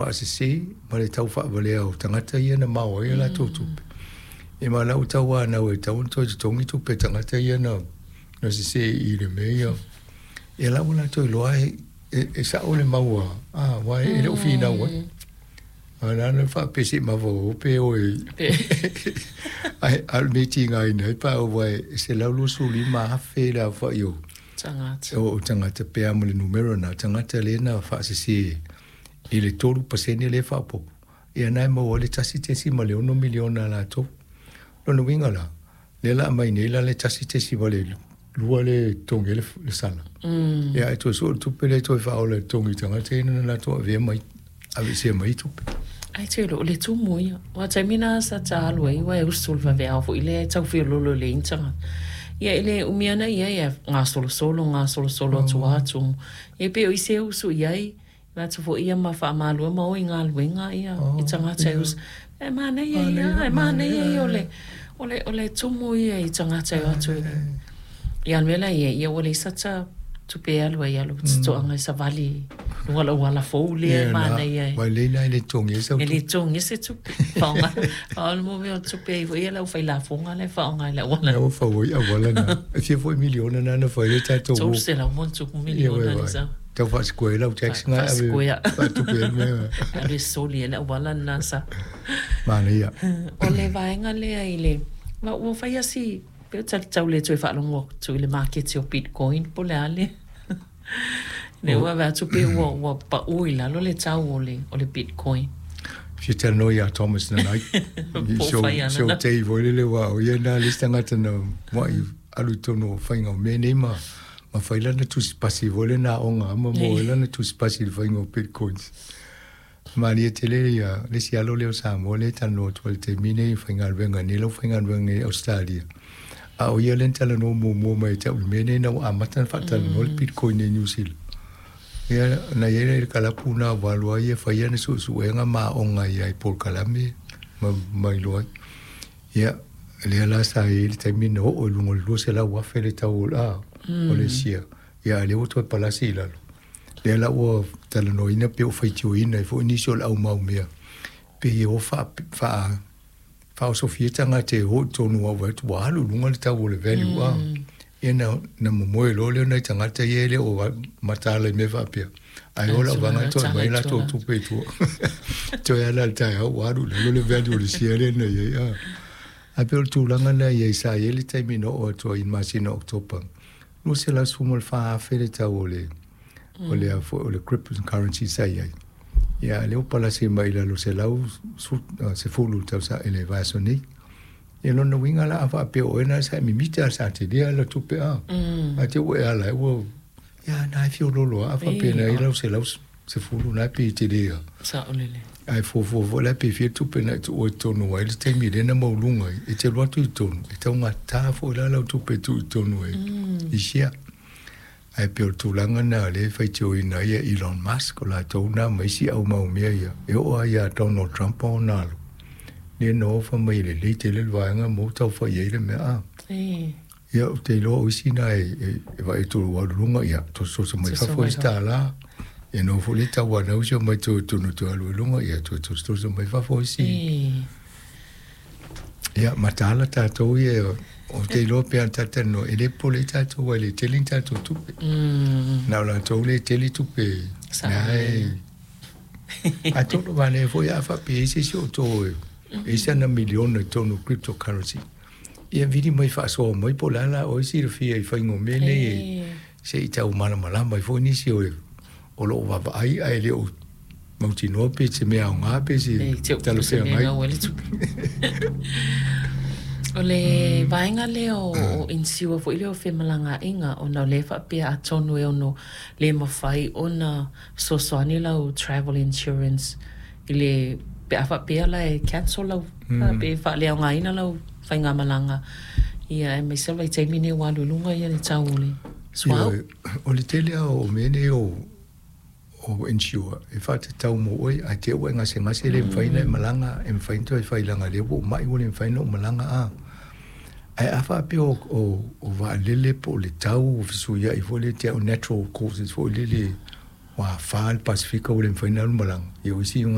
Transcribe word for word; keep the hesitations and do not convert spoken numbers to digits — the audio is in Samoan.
Faasese ma le tau faavalea o tagata ia na mao ai a latou tupe. E ma lau tau anau e tatau ona toe totogi tupe a tagata ia na na sese i le mea ia. Ia la ua latou iloa e, e, e sao le mau a, a aua e le o finau ai. A na na faapea se i mafaufau pe o e ai a o le mea e tigaina ai pa aua e selau luasefulu lima afe le aofai o tagata. O tagata pe a ma le numera na tagata lea na faasese i le tolu pasene lea e faaopoopo, ia na e maua ai le tasi tesima le ono miliona a latou. Lona uiga la, lea la aumai nei la le tasi tesima le lua lea e totogi ai le sala. Ia ae toe sue le tupe lea e toe faaola e totogi i tagata ia na latou avea mai aveesea mai ai tupe. Ae te iloa o le tumu ia. Aua taimi na sa ta alu ai aua e usu le vaveao foi lea e tau feololo i le internet. Ia e le umi ana ia ia gasolosolo gasolosolo atu lava tumu. Ia pei o isi e usu i ai latou foi ia ma faamalua ma o i galuega ia i tagata e usu. E manaia ia, e manaia ia o le o le o le tumu ia i tagata e o atu i ia le mea la e i ai, ia ua leai sata tupe e alu ai alu totoaga e savali i luga o le auala fou lea e manaia e. Ua lelei la e le totogia ai sau tupe. E le totogia se tupe. Faaaoga faaaoga le mea o tupe ai foi ia le aufailafoga la e faaaoga i le auala. Lea ua fau ai auala na. E fia foi miliona na na fai ai le tatou tolu selau ma ona tupu miliona le sau. Tau faasikuea ai lau tax na e ave faatupe ai le mea. Alu e soli ai le auala lena sa. Manaia. O le vaega lea i le, ua fai lava si Pei o tau le toe faalogo atu i le maketi o Bitcoin po o le a le lea ua vaai atu pei ua ua pau i lalo le tau o le o le Bitcoin. Fia talanoa ia Thomas Nanai. Po o fai ana So tei foi lele aua o ia na le isi tagata na muai alu i totonu o faiga o mea nei ma ma fai lana tusi pasi foi lea na aoga ma maua ai lana tusi pasi i le faiga o Bitcoins. Malie tele ia le isi alo lea o Samoa lea e talanoa atu ai i le taimi nei e faigaluega nei lau faigaluega nei i Ausetalia. A o ia lea na talanoa muamua mai ia te au i le mea nei ina ua amata ona faatalanoa le Bitcoin i Niu Sila. Ia na i ai la i le kalapu na ua alu ai ia fai ana suesuega ma aoga ia i polokalame ma ma iloa ai. Ia lea la sa i ai le taimi na oo i luga o le lua selau afe le tau o le a o le share. Ia a o lea ua toe palasi i lalo. Lea la ua talanoaina pe ua faitioina ai foi nisi o le au mau mea pei e o faa faa faaosofia tagata e o i totonu aua vaai atu ua alu i luga le tau o le value a. Ia na na momoe loa lea o nai tagata ia e le o mataala i mea faapea ae o lau vaga toe aumai a latou tupe i tua. Toe ala i le taeao ua alu i lalo le value o le share lea na i ai a. Ae pei o le tulaga lena i ai sa i ai le taimi na oo atu ai i le masina o Oketopa lua selau sefulu ma le fa afe le tau o le o le a foi o le cryptocurrency sa i ai. Ia a o lea ua palasi mai i lalo selau sefulu i le tausaga i le vaiaso nei. Ia lona uiga la a faapea o oe na sa e mimita sa telea lau tupe a. Ae te i ua e ala ai ua ia na e fiololo lava a faapea na i ai lau selau sefulu na pe tele a. Saolele. Ae fuafua foi la pe fia tupe na e tuua i totonu ai le taimi lea na maualuga ai e te alu atu i totonu e taugata foi la lau tupe e tuu i totonu ai i share. Ae pei o le tulaga lena o lea e faitioina ai e Elon Musk o latou na ma isi au mau mea ia e oo lava ia Donald Trump ma ona alo lea na o fai mai e lelei tele le vaega ma ua tau fai ai le mea a. Ia ou te iloa o isi na e e vaai atu ua alu i luga ia tosotoso mai fafo isi tālā. Ia na oo foi lea tauanau si o matou tonu toe alu i luga ia toe tosotoso mai fafo isi. Ia mataala tatou ia ou te iloa pe ana talatalanoa e le popole ai tatou aua e le tele ni tatou tupe. Na o latou lea e tele tupe na e atonu manaia foi a faapea e i ai se isi o outou e i ai sana miliona i totonu o cryptocurrency. Ia vili mai faasoa mai po o le a la oe silafia i faiga o mea nei e se i tau malamalama ai foi nisi o o lo o vaavaai ae le o mautinoa pe se mea aoga pe se talafeagai. O le vaega lea o insure foi lea o femalagaaiga ona o lea e faapea atonu e ono le mafai ona fesoasoani lau travel insurance i le pe a faapea la e cancel lau pe faaleaogaina lau faigamalaga ia aemaise o le vaitaimi lenei ua alu i luga ia le tau o le suauu. Ioe, o le tele lava o mea nei o o insure e faatatau mo oe ae te i ua e gasegase e le mafai ona e malaga, e mafai ona toe fai leaga o lea ua ou mai ua le mafai ona ou malaga a. Ae a faapea o o o vaalele po o le tau ua fesuiai foi lea te au natural causes foi lele Ua afā le Pasefika ua le mafai ona alu malaga, ia o isi